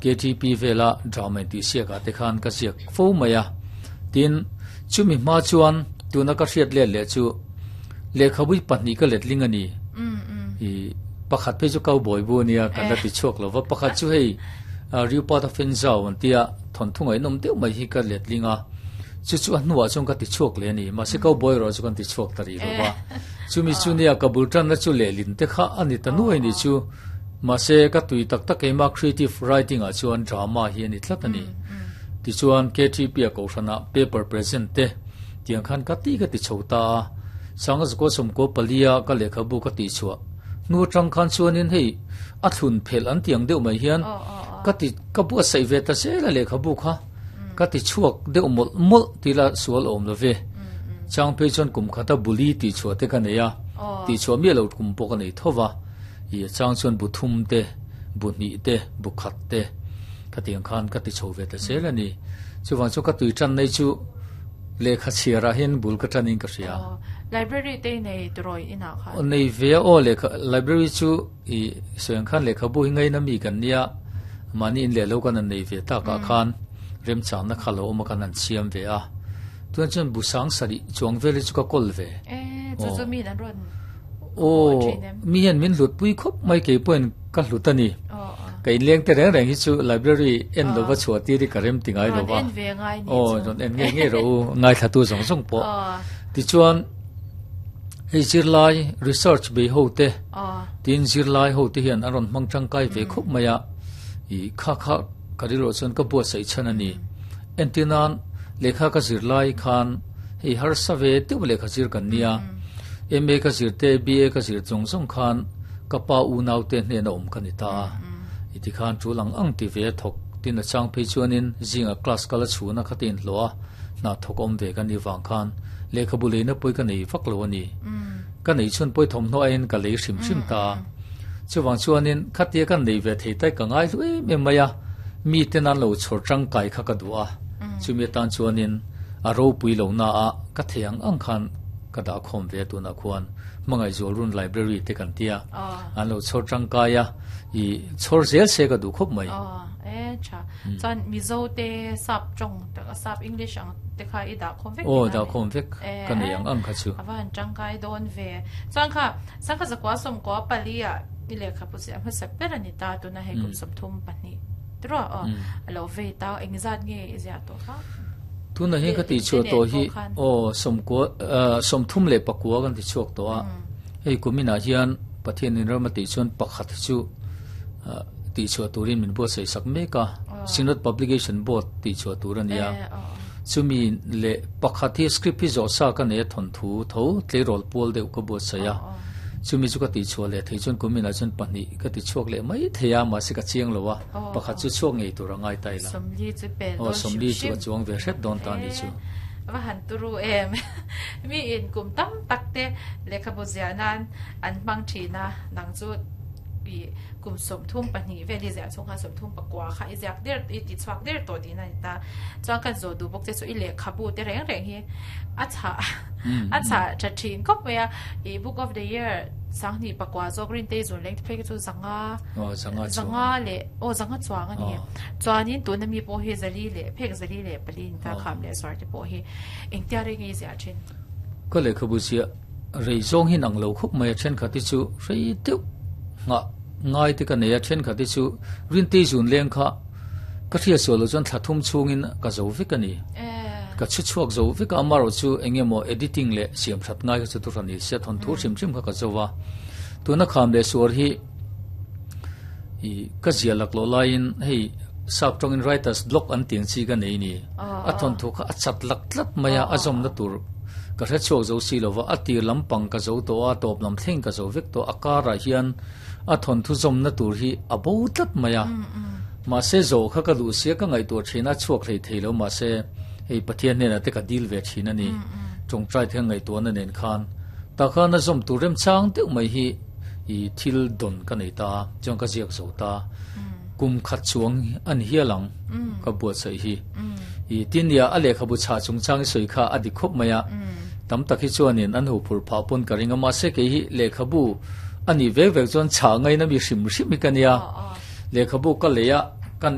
KTP vela drama intihsiak ah te khan ka ziak fo mai a. Tin, chumi hma chuan tuna ka hriat let leh chu lehkhabu hi pahnih ka letling a ni. Ih pakhat phei chu cowboy bu a nia kan la ti chhuak lo va, pakhat chu hei Riupat a Fenzau an tia thawnthu ngaihnawm deuh mai hi ka letling a. Chu chu a hnuah chuan ka ti chhuak leh a ni. Mahse cowboy erawh chu kan ti chhuak ta rih lo va. Chumi chu nia ka bul tanna chu lehlin te kha a ni ta nuai ni chu. Mahse ka tui tak tak keimah creative writing ah chuan drama hi a ni tlat a ni. Tichuan KTP a kohhranah paper present te tiang khan ka ti ka ti chho ta a. Sanga zakua sawmkua palia ka lehkhabu ka tih chhuah hnu atang khan chuanin hei a thlun phelh an tiang deuh mai hian ka ti ka buatsaih ve ta zel a lehkhabu kha. Ka ti chhuak deuh mawlh mawlh ti la sual awm lo ve. Chang phei chuan kum khata buli tih chhuah te ka nei a, tih chhuah miah lo kum pawh ka nei tho va. Ih chang chuan bu thum te, bu hnih te, bu khat te khatiang khan ka ti chho ve ta zel a ni. Chuvang chuan ka tui tan nei chu lehkha chhiarah hian bul ka tan in ka hria. Library te i nei tirawi inah khan? Nei ve a aw lehkha library chu. I sawi ang khan lehkhabu hi ngaina mi kan nia, mahni in leh lo kan han nei ve takah khan remchangna kha lo awm a kan han siam ve a. Tunah chuan bu sang sarih chuang vel hi chu ka kawl ve. E, chu chu mi an rawn Aw, mi hian min hlut pui khawp mai kei pawhin ka hlut a ni. Ka inleng te reng reng hi chu library en lova chhuah tir hi ka rem ti ngai lova. Rawn en ve ngai ni chu. Aw, rawn en ngei ngei rawh u, ngaithlatu zawng zawng pawh. Tichuan, Hei zirlai research bei ho te tin zirlai ho te hian an rawn hmang tangkai ve khawp mai a, ih kha kha ka rilruah chuan ka buatsaih chhan a ni. Entir nan lehkha ka zir lai khan hei harsa ve deuh lehkha zir kan nia, MA ka zir te BA ka zir zawng zawng khan ka pa unau te hnena awm ka ni ta a, i tikhan tul ang ang ti ve a thawk tin a chang phei chuanin zingah class kal a chhun a kha te inhlawh a, hna thawk awm ve ka nih vang khan lehkhabu leina pawi ka nei vak lo a ni. Ka neih chhun pawi thawmhnaw aiin ka lei hrim hrim ta a. Chuvang chuanin khatia ka nei ve thei tai ka ngai hlu em em mai a, miten an lo chhawr tangkai kha ka duh a. Chumi atan chuanin a ropui lo na a ka thei ang ang khan ka dah khawm ve a tunah khuan Hmangaihzual Run Library te kan tia an lo chhawr tangkai a, i chhawr zel se ka duh khawp mai. E tha. Chuan Mizo te sap tawng sap English ang te kha i dah khawm vek Aw dah khawm vek ka nei ang ang kha chu. A va han tangkai dawn ve. Chuan kha sangha zakua sawmkua pali ah i lehkha pu chiah hmasa ber a ni ta tuna hei kum 32 tiraw aw a lo vei ta engzat nge i ziah tawh kha? Tuna hian ka tih chhuah tawh hi aw sawmkua 39 kan ti chhuak tawh a hei kuminah hian Pathian in ram a tih chuan pakhat hi chu tih chhuah turin min buatsaih sak mek a, Synod Publication Board tih chhuah tur a ni a. Chumi leh pakhat hi script hi zawh sa ka nei a thawnthu tho tleirawl pual deuh ka buatsaih a. Chumi chu ka tih chhuah leh thei chuan kuminah chuan pahnih ka ti chhuak leh mai thei a, mahse ka chiang lo a, pakhat chu chhuak ngei tur a ngai ta ila. Aw, 40 chu ka chuang ve hret dawn ta a nih chu. Va han turu em. Mi in kum tam tak te lehkhabu ziah nan an hmang thin a, nang chu i kum 32 vel i ziah chhung khan 39 kha i ziak der i ti chhuak der tawh tihna a ni ta. Chuan kan zawh duh bawk che chu i lehkhabu te reng reng hi a chhah a chhah tha thin khawp mai a. I book of the year 2009 zawk Rintei zun leng te phei kha chu zanga zanga leh aw zanga chuang a ni. Chuanin tuna mi pawh hi zali leh phek zali leh pali ni ta kham leh suar te pawh hi engtia reng nge i ziah thin? Ka lehkhabu ziah Rei zawng hi nang lo khawp mai a, thenkhat hi chu rei deuh nghah ngai te ka nei a, thenkhat hi chu Rintei zun leng kha ka hriat sual loh chuan thla thum chhungin ka zo vek a ni. Ka chhu chhuak zo vek a, amaherawh chu eng emaw editing leh siam that ngai kha chu tu hran ni sia thawnthu hrim hrim kha ka zo a. Tuna kham leh suar hi i ka zia laklawh laiin hei sap tawngin writers block an tih ang chi ka nei ni. A thawnthu kha a chat lak tlat mai a, a zawmna tur ka hre chhuak zo si lova, a tir lampang ka zo tawh a, a tawp lam thleng ka zo vek tawh, a karah hian a thawnthu zawmna tur hi a bo tlat mai a. Mahse zawh kha ka duh sia ka ngaihtuah thin a, chhuak hlei thei lo mahse hei Pathian hnenah te ka dil ve thin a ni, tawngtai te ka ngaihtuahna nen khan. Tah khan a zawm tur remchang deuh mai hi i thil dawn ka nei ta a, chuan ka ziak zo ta. Kum khat chuang a ni hial ang ka buatsaih hi. I tin nia a lehkhabu chhah chungchang i sawi kha a dik khawp mai a, tam tak hi chuanin an ho phur phah pawn ka ring a, mahse kei hi lehkhabu a nih vek vek chuan chhah ngaina mi hrim hrim hi ka nia. Lehkhabu ka lei a.